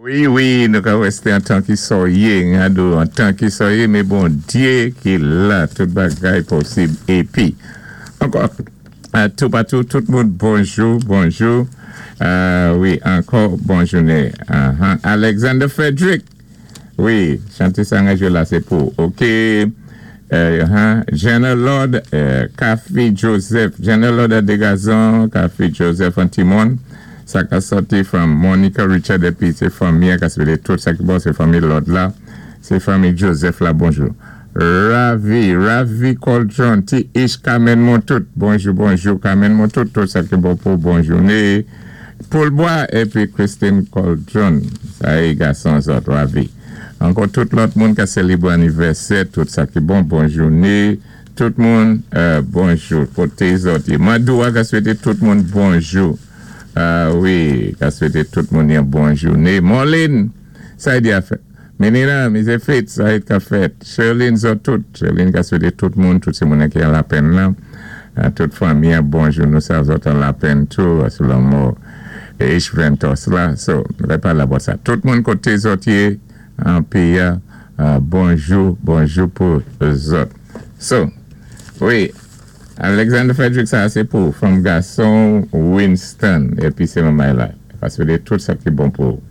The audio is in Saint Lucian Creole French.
Wi wi nou ka wè sé an tan ki sòyé nga do an tan ki sòyé mé Bondyé ki la tout bagay posib épi ankò toupatou tout moun bonjou bonjou wi ankò bon jounen Alexander Frederick Wi chante sa nga jwe la se pou ok Jenna Lord Cathy Joseph Jenna Lord a Degazon Cathy Joseph an Timon sa ka sòti from Monica Richard epi se fanmi an ka swete tout sa ki bon se fanmi Lord la se fanmi Joseph la bonjou Ravi Ravi Coltron Ti Ish Carmen Montout bonjou bonjou Carmen Montout tout sa ki bon pou bon joune Poulbwa epi Christine Coldron sa e gason zòt Ravi ankò tout lòt moun ka selebre anivèsè tout sa ki bon bon joune tout moun bonjou kote zòt ye Madoua ka swete tout moun bonjou wi ka swete tout moun yon bon joune Morline sa e di afè. Menina, mizè Fritz, sa et ka fèt. Sherline zòt tout. Sherline ka swete tout moun, tout se moun ki an lapenn lan, tout fanmi an bonjou nou sa zòt an lapenn tou sou lanmò H Ventos la. So, nou ka pale about sa. Tout moun kote zòt ye an peyi a, bonjou, bonjou pou zòt. So, wi, Alexander Frederick sa a se pou fanm gason Winston epi se manmay la. Ka swete tout sa ki bon pou ou.